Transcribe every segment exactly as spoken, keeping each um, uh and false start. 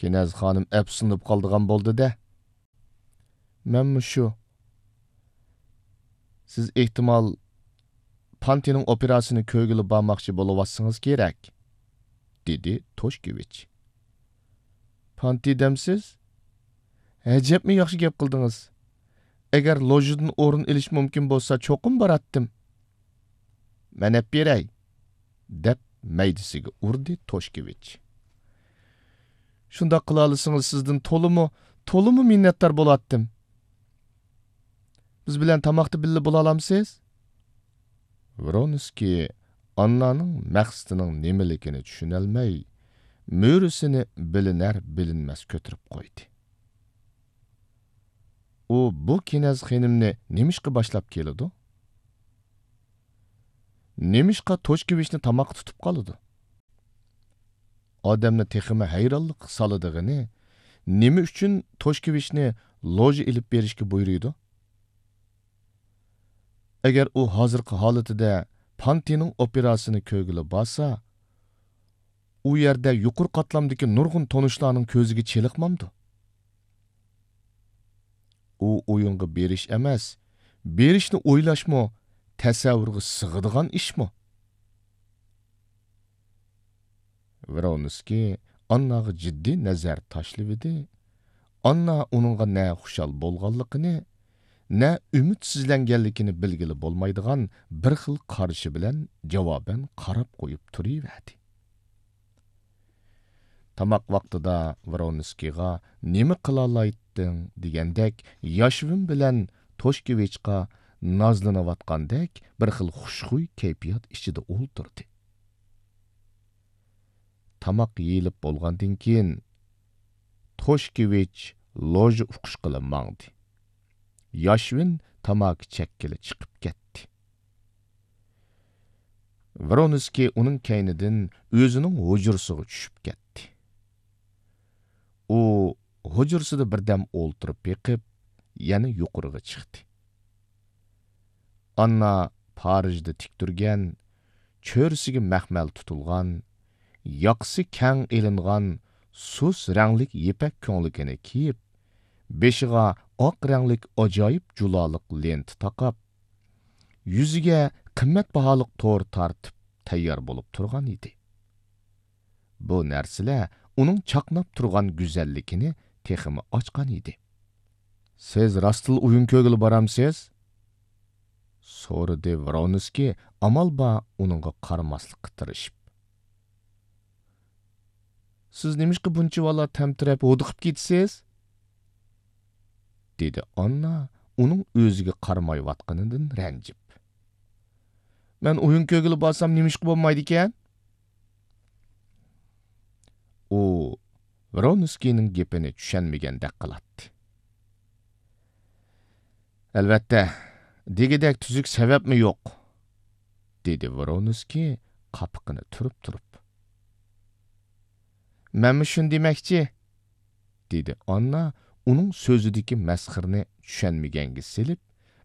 كىنەز خانىم ئەپسۇسلىنىپ قالىدىغان بولدى-دە. مەنمۇ شۇ. سىز ئېھتىمال پانتىنىڭ ئوپېراسىنى كۆرگىلى بارماقچى بولۇۋاتسىڭىز كېرەك، دېدى توشكېۋىچ. پانتى دەمسىز؟ ئەجەبمۇ ياخشى گەپ قىلدىڭىز. ئەگەر لوژىدىن ئورۇن ئېلىش مۇمكىن بولسا، چوقۇم باراتتىم. مەن ئەپ بېرەي، دەپ مەيدىسىگە ئۇردى توشكېۋىچ. شۇنداق قىلالىسىڭىز، سىزدىن تولىمۇ، تولىمۇ مىننەتدار بولاتتىم. بىز بىلەن تاماقتا بىللە بولالامسىز؟ ۋرونسكىي ئاننانىڭ مەقسىتىنىڭ نېمىلىكىنى چۈشىنەلمەي، مۈرىسىنى بىلىنەر-بىلىنمەس كۆتۈرۈپ قويدى. ئۇ بۇ كىنەز خېنىمنى نېمىشقا باشلاپ كېلىدۇ؟ نېمىشقا توشكېۋىچنى تاماققا تۇتۇپ قالىدۇ؟ ئادەمنى تېخىمۇ ھەيرانلىققا سالىدىغىنى، نېمە ئۈچۈن توشكېۋىچنى لوژا ئېلىپ بېرىشكە بۇيرۇيدۇ؟ ئەگەر ئۇ ھازىرقى ھالىتىدە پانتىنىڭ ئوپېراسىيىسىنى كۆرگىلى بارسا، ئۇ يەردە يۇقىرى قاتلامدىكى نۇرغۇن تونۇشلارنىڭ كۆزىگە چېلىقمامدۇ؟ ئۇ ئويۇنغا بېرىش ئەمەس، بېرىشنى ئويلاشمۇ تەسەۋۋۇرغا سىغىدىغان ئىشمۇ؟ ۋرونسكىي ئانناغا جىددىي نەزەر تاشلىۋىدى. ئاننا ئۇنىڭغا نە خۇشال بولغانلىقىنى، نە ئۈمىدسىزلەنگەنلىكىنى بىلگىلى بولمايدىغان بىر خىل قارىشى بىلەن جاۋابەن قاراپ قويۇپ تۇرۇۋەردى. تاماق ۋاقتىدا ۋرونسكىيغا «نېمە قىلالايتتىڭ؟» دېگەندەك ياشۋىن بىلەن توشكېۋىچقا نازلىنىۋاتقاندەك بىر خىل خۇشخۇي كەيپىيات ئىچىدە ئولتۇردى. تاماق يېيىلىپ بولغاندىن كېيىن، توشكېۋىچ لوژا ئۇقۇشقىلى ماڭدى. ياشۋىن تاماكا چەككىلى چىقىپ كەتتى. ۋرونسكىي ئۇنىڭ كەينىدىن ئۆزىنىڭ ھۇجرىسىغا چۈشۈپ كەتتى. ئۇ ھۇجرىسىدا بىردەم ئولتۇرۇپ بېقىپ، يەنە يۇقىرىغا چىقتى. ئاننا پارىژدا تىك تۈرگەن، چۆرىسىگە مەخمەل تۇتۇلغان، ياقىسى كەڭ ئېلىنغان سۇس رەڭلىك يىپەك كۆڭلىكىنى كىيىپ، بېشىغا ئاق رەڭلىك ئاجايىپ جۇلالىق لېنتا تاقاپ، يۈزىگە قىممەت باھالىق تور تارتىپ تەييار بولۇپ تۇرغان ئىدى. بۇ نەرسىلەر ئۇنىڭ چاقناپ تۇرغان گۈزەللىكىنى تېخىمۇ ئاچقان ئىدى. «سىز راستلا ئويۇن كۆرگىلى بارامسىز؟» سورىدى ۋرونسكىي ئامال بار ئۇنىڭغا قارىماسلىققا تىرىشىپ. «سىز نېمىشقا بۇنچىۋالا تەمتىرەپ ھودۇقۇپ كېتىسىز؟» دېدى ئاننا ئۇنىڭ ئۆزىگە قارىمايۋاتقىنىدىن رەنجىپ. «مەن ئويۇن كۆرگىلى بارسام نېمىشقا بولمايدىكەن؟» ئۇ ۋرونسكىينىڭ گېپىنى چۈشەنمىگەندەك قىلاتتى. «ئەلۋەتتە، دېگۈدەك تۈزۈك سەۋەبمۇ يوق»، دېدى ۋرونسكىي قاپىقىنى تۈرۈپ تۇرۇپ. «مەنمۇ شۇنى دېمەكچى»، دېدى ئاننا ئۇنىڭ سۆزىدىكى مەسخىرىنى چۈشەنمىگەنگە سېلىپ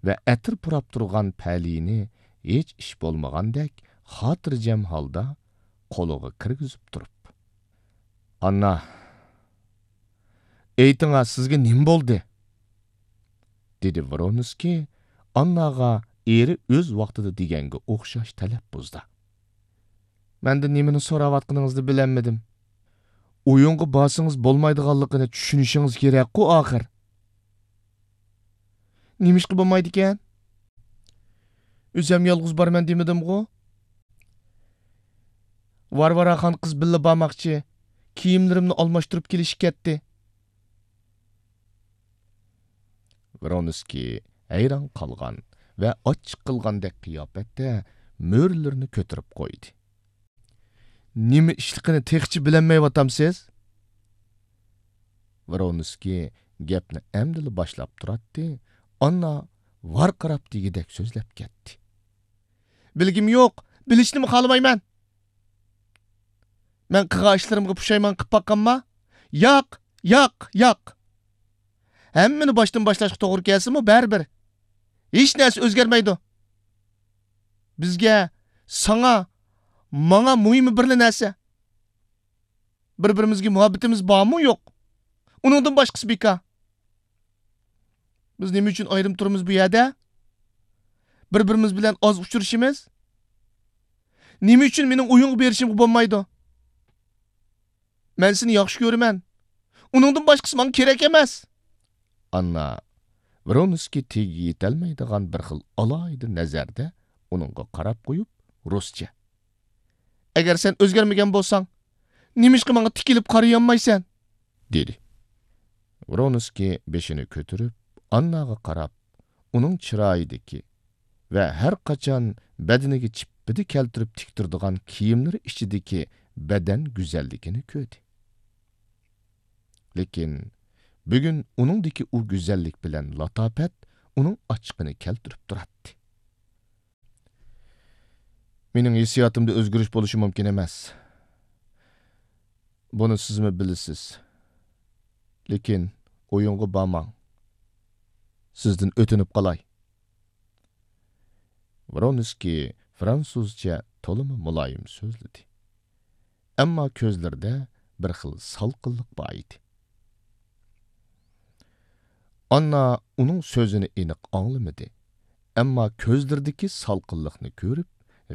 ۋە ئەتىر پۇراپ تۇرغان پەلىيىنى ھېچ ئىش بولمىغاندەك خاتىرجەم ھالدا قولىغا كىرگۈزۈپ تۇرۇپ. «ئاننا، ئېيتىڭا، سىزگە نېمە بولدى؟» دېدى ۋرونسكىي ئانناغا ئېرى ئۆز ۋاقتىدا دېگەنگە ئوخشاش تەلەپپۇزدا. «مەندىن نېمىنى سوراۋاتقىنىڭىزنى بىلەلمىدىم. ئويۇنغا بارسىڭىز بولمايدىغانلىقىنى چۈشىنىشىڭىز كېرەكقۇ ئاخىر.» «نېمىشقا بولمايدىكەن؟ ئۆزەم يالغۇز بارىمەن دېمىدىمغۇ؟ ۋارۋاراخان قىز بىللە بارماقچى، كىيىملىرىمنى ئالماشتۇرۇپ كېلىشكە كەتتى.» ۋرونسكىي ھەيران قالغان ۋە ئاچچىق قىلغاندەك قىياپەتتە مۈرىلىرىنى كۆتۈرۈپ قويدى. «نېمە ئىشلىقىنى تېخىچە بىلەلمەيۋاتامسىز؟» ۋرونسكىي گەپنى ئەمدىلا باشلاپ تۇراتتى، ئاننا ۋارقىراپ دېگۈدەك سۆزلەپ كەتتى. «بىلگۈم يوق، بىلىشنىمۇ خالىمايمەن. مەن قىلغان ئىشلىرىمغا پۇشايمان قىلىپ باققانما؟ ياق، ياق، ياق. ھەممىنى باشتىن باشلاشقا توغرا كەلسىمۇ بەرىبىر. ھېچ نەرسە ئۆزگەرمەيدۇ. بىزگە، ساڭا، ماڭا مۇھىمى بىرلا نەرسە. بىر-بىرىمىزگە مۇھەببىتىمىز بارمۇ يوق؟ ئۇنىڭدىن باشقىسى بىكار. بىز نېمە ئۈچۈن ئايرىم تۇرىمىز بۇ يەردە؟ بىر-بىرىمىز بىلەن ئاز ئۇچرىشىمىز؟ نېمە ئۈچۈن مېنىڭ ئويۇنغا بېرىشىمغا بولمايدۇ؟ مەن سېنى ياخشى كۆرىمەن. ئۇنىڭدىن باشقىسى ماڭا كېرەك ئەمەس. ئاننا ۋرونسكىي تېگىگە يېتەلمەيدىغان بىر خىل ئالاھىدە نەزەردە ئۇنىڭغا قاراپ قويۇپ، رۇسچە: ئەگەر سەن ئۆزگەرمىگەن بولساڭ، نېمىشقا ماڭا تىكىلىپ قارىيالمايسەن؟ دېدى. ۋرونسكىي بېشىنى كۆتۈرۈپ، ئانناغا قاراپ، ئۇنىڭ چىرايىدىكى ۋە ھەر قاچان بەدىنىگە چىپپىدە كەلتۈرۈپ تىك تۇرىدىغان كىيىملىرى ئىچىدىكى بەدەن گۈزەللىكىنى كۆردى. لېكىن بۈگۈن ئۇنىڭدىكى ئۇ گۈزەللىك بىلەن لاتاپەت ئۇنىڭ ئاچچىقىنى كەلتۈرۈپ تۇراتتى. مېنىڭ ھېسسىياتىمدا ئۆزگىرىش بولۇشى مۇمكىن ئەمەس. بۇنى سىزمۇ بىلىسىز. لېكىن ئويۇنغا بارماڭ. سىزدىن ئۆتۈنۈپ قالاي. ۋرونسكىي فرانسۇزچە تولىمۇ مۇلايىم سۆزلىدى. ئەمما كۆزلىرىدە بىر خىل سالقىنلىق بار ئىدى. ئاننا ئۇنىڭ سۆزىنى ئېنىق ئاڭلىمىدى، ئەمما كۆزلىرىدىكى سالقىنلىقنى كۆرۈپ،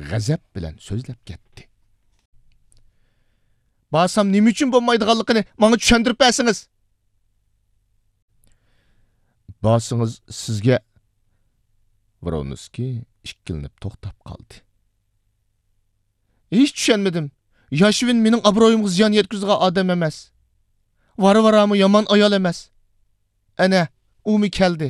غەزەپ بىلەن سۆزلەپ كەتتى. بارسام نېمە ئۈچۈن بولمايدىغانلىقىنى ماڭا چۈشەندۈرۈپ بەرسىڭىز. بارسىڭىز سىزگە. ۋرونسكىي ئىككىلىنىپ توختاپ قالدى. ھېچ چۈشەنمىدىم. ياشۋىن مېنىڭ ئابرۇيۇمغا زىيان يەتكۈزىدىغان ئادەم ئەمەس. ۋارۋارامۇ يامان ئايال ئەمەس. ئەنە، ئۇمۇ كەلدى.